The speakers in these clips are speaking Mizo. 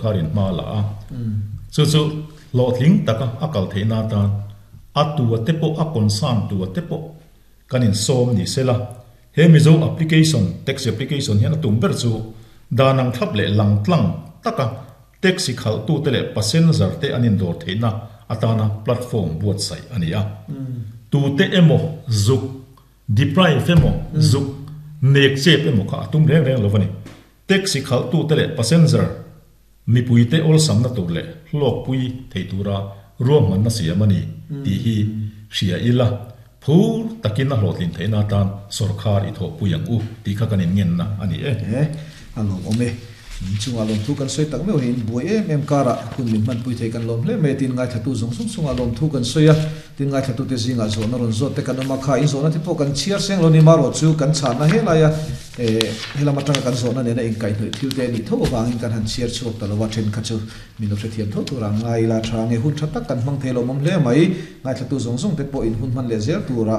Kharin hma la a, chu chu hlawhtling taka a kal theihna atan a tua te pawh a concern tua te pawh kan insawm ni sela. He Mizo application, taxi application hian a tum ber chu dan ang thlap leh lang tlang taka taxi khalhtute leh passenger te an indawr theihna atana platform buatsaih a ni a. Tute emaw zuk deprive emaw zuk nek chep emaw kha a tum reng reng lo a ni. Taxi khalhtute leh passenger mipuite awlsamna tur leh hlawkpui thei tura ruahmanna siam a ni tih hi hria ila, phur takin a hlawhtlin theihna atan sawrkhar i thawhpui ang u tih kha kan inngenna a ni e. E, a lawmawm e. Chungah lawmthu kan sawi tak meuh hian buai em em karah hun min hmanpui thei kan lawm hle mai a, tin ngaithlatu zawng zawng chungah lawmthu kan sawi a. Tin, ngaithlatute zingah zawhna rawn zawt te kan awm a, kha in zawhna te pawh kan chhiar seng lo ni marawh chu kan chhanna helaia eh helam atanga kan zawhna nena inkaihhnawih thil te a nih tho avangin kan han chhiar chhuak ta lo a, then kha chu min lo hrethiam tho tura ngai ila tha nge hun tha tak kan hmang thei lo awm hle mai. Ngaithlatu zawng zawng te pawh in hun hman leh zel tura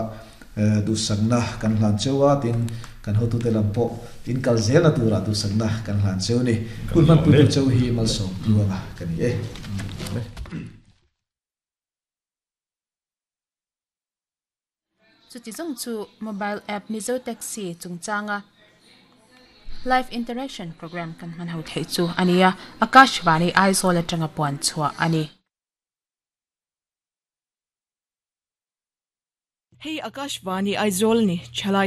eh duhsakna kan hlan cheu a, tin kan hotute lam pawh in kal zelna tura duhsakna kan hlan cheu ni. Hun hmanpuitu cheu hi malsawm tluanga ka ni e. Chuti zawng chu mobile app Mizo Taxi chungchanga live interaction programme kan hman ho theih chu a ni a, Akashvani Aizawl atanga puan chhuah a ni. Hei Akashvani Aizawl ni thalai.